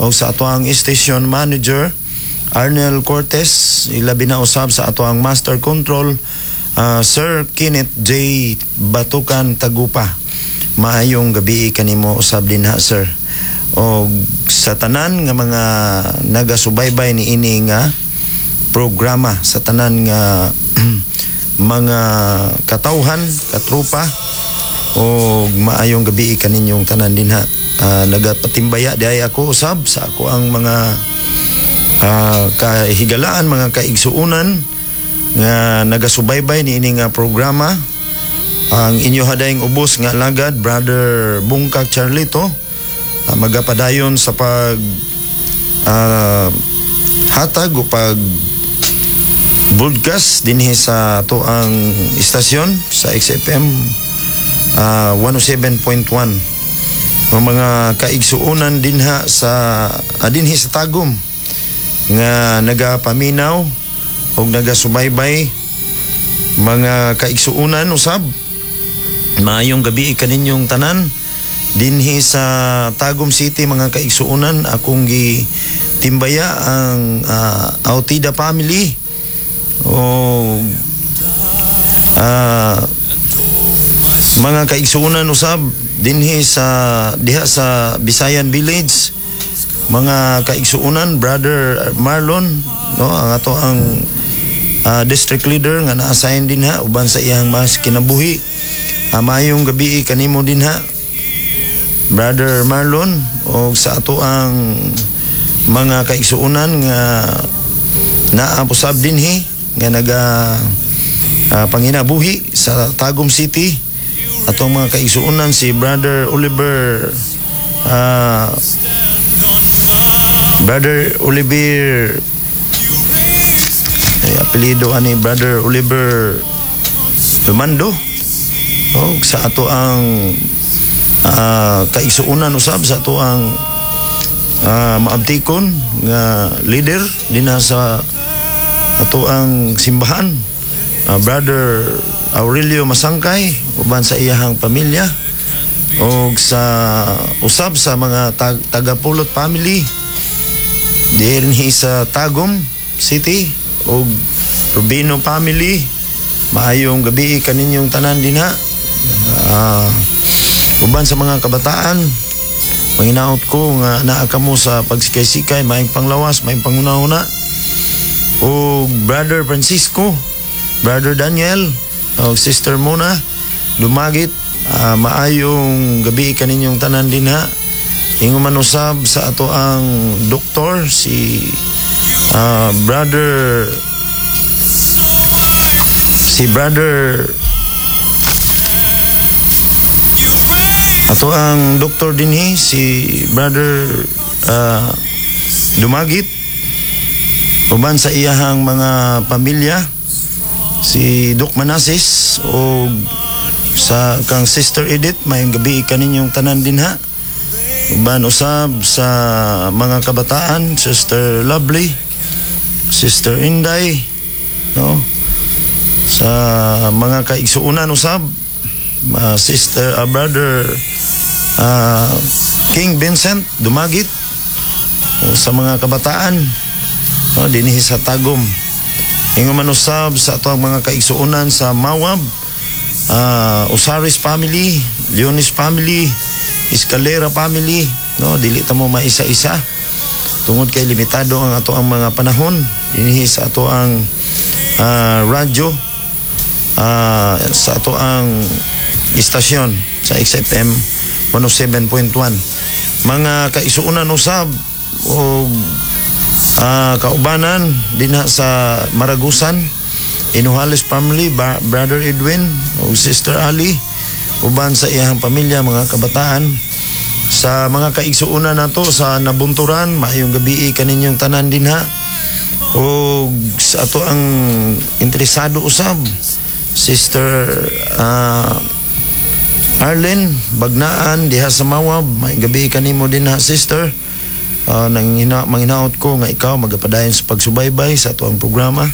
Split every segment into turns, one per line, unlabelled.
O sa ato ang station manager Arnel Cortez, ilabi na usab sa ato ang master control, Sir Kenneth J. Batukan Tagupa. Maayong gabi kanimo usab dinha, sir. O sa tanan nga mga nagasubaybay ni ini nga programa, sa tanan nga mga katawhan, katrupa, o maayong gabi kaninyong tanan dinha. Nagapatimbaya diay ako usab sa ako ang mga kahigalaan, mga kaigsuunan nga nagasubaybay ni ini nga programa. Ang inyo hadayng ubos nga alagad, Brother Bungkak Charlito, magapadayon sa pag hatag o pag broadcast dinhi sa ato ang istasyon sa XFM 107.1. Ang mga kaigsuonan dinha sa dinhi sa Tagum nga nagapaminaw og nagasubaybay, mga kaigsuonan usab, maayong gabi kaninyong tanan dinhi sa Tagum City. Mga kaigsuonan, akong gi timbaya ang Autida family o mga kaigsuonan usab dinhi sa diha sa Bisayan Village, mga kaigsuonan, Brother Marlon, no, ang ato ang district leader nga na-assign dinha uban sa iyang mas kinabuhi. Maayong gabi kanimo dinha, Brother Marlon, o sa ato ang mga kaigsuonan nga naa usab dinhi nga naga panginabuhi sa Tagum City, atong mga kaigsuonan si Brother Oliver, Brother Oliver, ay apelyido ani Brother Oliver Lumando, o sa ato ang kaigsuonan usab, sa ato ang maabtikon nga leader dinha sa ato ang simbahan, Brother Aurelio Masangkay uban sa iyahang pamilya, og sa usab sa mga tagapulot family dinhi sa Tagum City og Rubino family, maayong gabi kaninyong tanan dinha. Uban sa mga kabataan, manginaot ko nga naa kamo sa pagsikay-sikay, maayong panglawas, maayong panghuna-huna. O Brother Francisco, Brother Daniel, o Sister Mona Dumagit, maayong gabi kaninyong tanan dinha. Ingon man usab sa ato ang doktor si Brother si Brother ato ang doktor dinhi si Brother Dumagit uban sa iyahang mga pamilya, si Doc Manasis, o sa kang Sister Edith, maayong gabi kaninyong tanan dinha. Uban usab sa mga kabataan, Sister Lovely, Sister Inday, no, sa mga kaigsuonan usab, Sister Brother King Vincent Dumagit, o sa mga kabataan, no, dinhi sa Tagum. Ingon man usab sa ato ang mga kaigsuonan sa Mawab, Osaris family, Leonis family, Escalera family, no, dili ta mo maisa-isa tungod kay limitado ang ato ang mga panahon dinhi sa ato ang radyo, sa ato ang istasyon sa XFM 107.1. Mga kaigsuonan usab og kaubanan dinha sa Maragusan, Inuhales family, Brother Edwin o Sister Ali uban sa iyang pamilya, mga kabataan, sa mga kaigsuonan nato sa Nabunturan, maayong gabi kaninyong tanan dinha. O sa ato ang interesado usab, Sister Arlene Bagnaan diha sa Mawab, maayong gabi kanimo dinha, sister. Nang manginaot ko nga ikaw magapadayon sa pagsubaybay sa ato ang programa,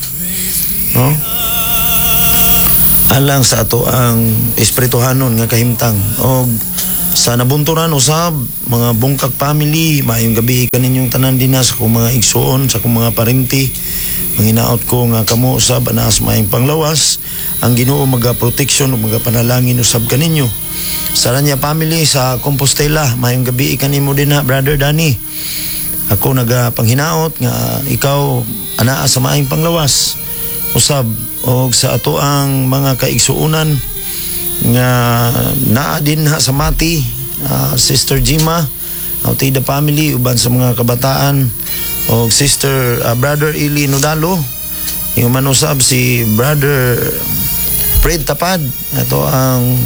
no, alang sa ato ang espirituhanon nga kahimtang og Sa Nabunturan usab, mga Bungkag family, maayong gabi kaninyong tanan dinha sa akong mga igsuon, sa akong mga parente. Manghinaot ko nga kamo usab anaa sa maayong panglawas, ang Ginoo maga protection ug magapanalangin usab kaninyo. Sa Ranya family sa Compostela, maayong gabi kanimo dinha, Brother Danny. Ako nagapanghinaot nga ikaw anaa sa maayong panglawas. Usab og sa ato ang mga kaigsuonan nga naa dinha sa Mati, Sister Jima, Autida family, uban sa mga kabataan og Sister Brother Ili Nodalo, yung manusab si Brother Fred Tapad, ato ang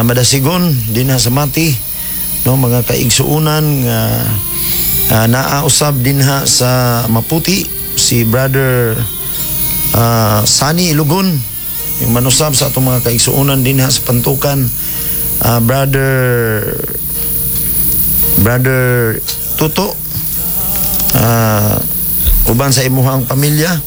madasigon dinha sa Mati, no, mga kaigsuonan nga naa usab dinha sa Maputi, si Brother Sani Ilugon, yung manusab sa atong mga kaigsuonan dinha sa Pantukan, Brother Tuto, uban sa imuhang pamilya,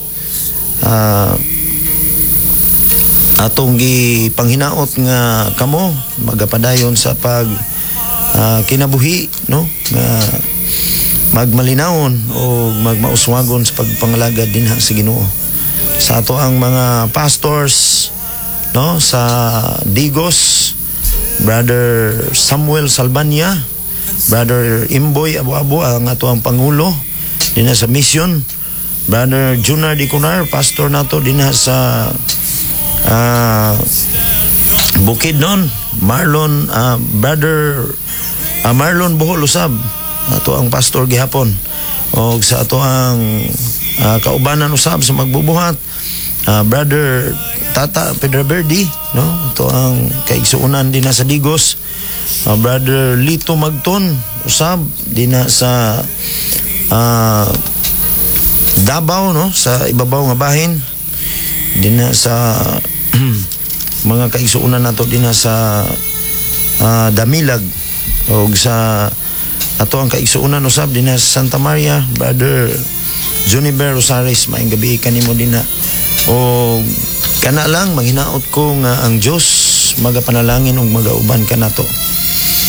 atong gipanghinaot nga kamo magapadayon sa pag kinabuhi, no, nga magmalinawon o magmauswagon sa pagpangalagad dinha sa Ginoo. Sa ato ang mga pastors, no, sa Digos, Brother Samuel Salbania, Brother Imboy Abu-Abu, ang ato ang pangulo dinha sa mission, Brother Junar Diconar, pastor nato dinha sa Bukidnon, Marlon Brother Marlon Bohol usab, ato ang pastor gihapon, og sa ato ang kaubanan usab sa magbubuhat, Brother Tata Pedro Verdi, no, ato ang kaigsuonan dinha sa Digos, Brother Lito Magton usab dinha sa Davao, no, sa ibabaw nga bahin, dinha sa mga kaigsuonan nato dinha sa Damilag, og sa ato ang kaigsuonan usab dinha sa Santa Maria, Brother Juniper Rosales, maayong gabi kanimo dinha. Og kana lang, manghinaot ko nga ang Dios magapanalangin ug magauban kanato.